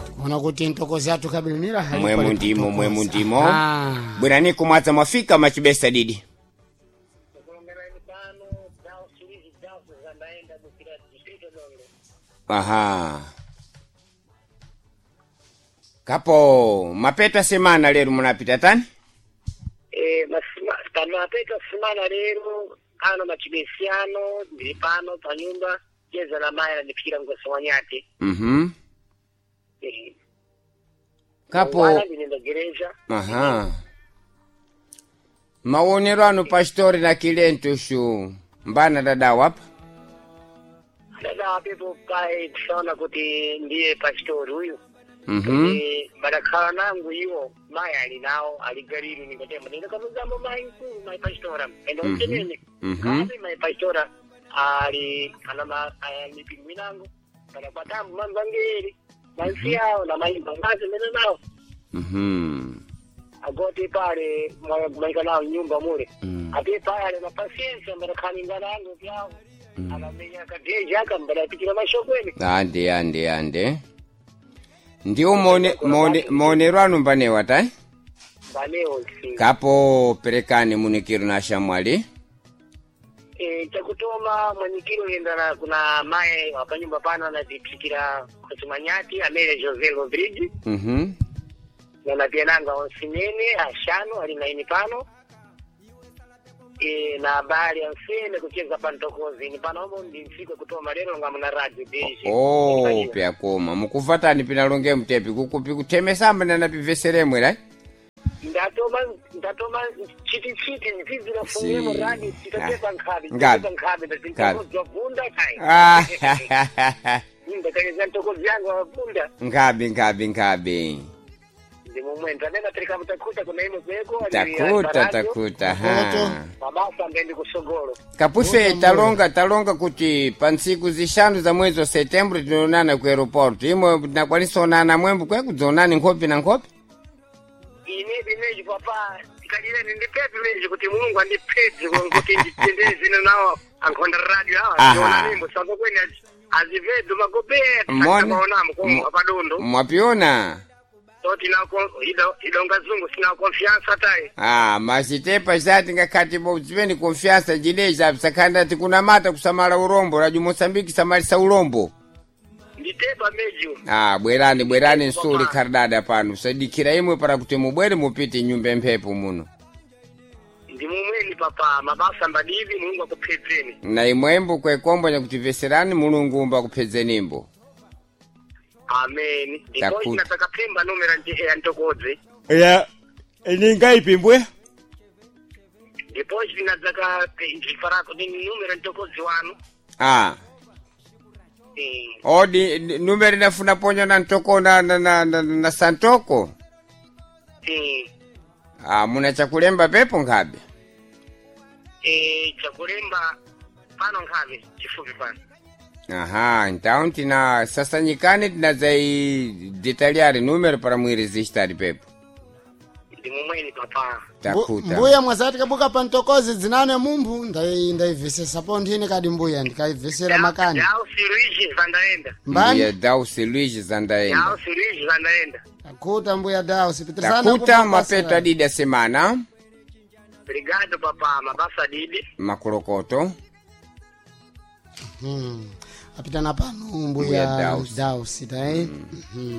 Tikuona kuti ntokozi athu kabilinira hali Mwemu pali ndimo, patokoza. mwemu ndimo. Ah. Bwerani kumwadza mwafika machibesa didi. Aha. Kapo mapeta semana lero munapita tani? Pamapeta semana lero ano machibesiano ndili pano panyumba jeza na mayi anandiphikira mgoso wanyati. Kapo Mangwana ndinenda gereza. Aha. Maonero anu pastori na kilento shu. Mbana dada wapa? Dada apepo pae tisaona kuti ndiye pastori uyu. Badakhala nangu iwo mayi ali nawo ali galili ningatema ndindakamuzamo mayi mkulu mayi pastora enda mtenene. Kapi mayi pastora ali ana mipingo inango padakwatamu mamvangeri mansi yawo na mayimba ngazi mene nawo. Agoti pale kumaika nawo nyumba mule. Ate pale na pasiensa mbadakhaninga nangu pyawo anamenya kadeji aka mbadapikira mashokwene. Ande ande ande. Ndiwo maonero anu mbanewa tai? Mbanewo si. Kapo perekani munikiro na shamwali. Chakutoma mwenyikiro yenda kuna maye wapanyumba pano anatiphikira kusimanyati amene Jose Rodrigues. Na piananga onsinene ashanu ali naini pano na habari ansene kucheza pantokozi ni pano omo ndi ntsiku kutoma lero nga muna radio deji. Oh, pyakoma. Mukuvatani pinalonge mtepi kukupi kuthemesamba na napiveseremwe lai? Ndatoma chiti chiti nzizira fungemo radio titatepa nkhabe. Ngabe. Titatepa nkhabe Ngabe. ndatintokozi kai. Ah. Ndakayeza ntokozi yangu wavunda. Ngabe ngabe ngabe. Ndi momwe ndanena tereka mutakuta kuna imo kweko. Takuta takuta ha. Mabasa ngendi kusogolo. Kapufe talonga kuti pa ntsiku zishanu za mwezi wa setembro tinoonana ku aeroport. Imwe tinakwanisa onana mwembo kwe kudzonani nkhope na nkhope? Ine bineji papa tikalire ndipepi meji kuti Mulungu andipedze kuti nditendere zino nawo ankhonda radio awa ndiona mimbo sako kwene azivedu magobeya Mone. tisaonamo komwa padondo. Mwapiona? So tinako idonga zungu sina confianza tai. Ah, masitepa chati ngakhati bo zipeni confiança jileja sakhanda tikunamata kusamala urombo radio Mozambique samalisa urombo. Nditepa meji. Ah, bwerani bwerani nsuli khardada pano sadikira imwe para kuti mubwere mupite nyumba mphepo muno. Ndi mumweni papa mabasa mbadivi Mulungu akuphedzeni. Na imwembo kwekombo nyakutimveserani Mulungu umba kuphedzenimbo. Amen. Ndipo Takuta. nataka pemba numera ya ntokodzi. Ya, ningaipimbwe? Ndipo tinadzaka ndifarako ndi numera ntokodzi wanu. Ah. Odi numero inafuna ponya na ntoko na santoko. Ah, muna chakulemba pepo nkhabe. Chakulemba pano nkhabe chifupi pano. Aha, então tina sasanyikani tinadzai detalhar número para muiresistar pepo. Ndi mumweni papa. Takuta. Mbuya mwazati kabuka pantokozi dzinane mumphu ndaivesesa po nthini kadi mbuya ndikaivesera makani. Dausi Luigi Zandaenda. Mbani? Mbuya Dausi Luigi Zandaenda. Dausi Luigi Zandaenda. Takuta mbuya Dausi pitirizana Takuta kubva mapeto basa. adidi a semana. Obrigado papa mabasa didi. Makolokoto. Apitana pano Mbuya mbuya Dausi. Dausi tai.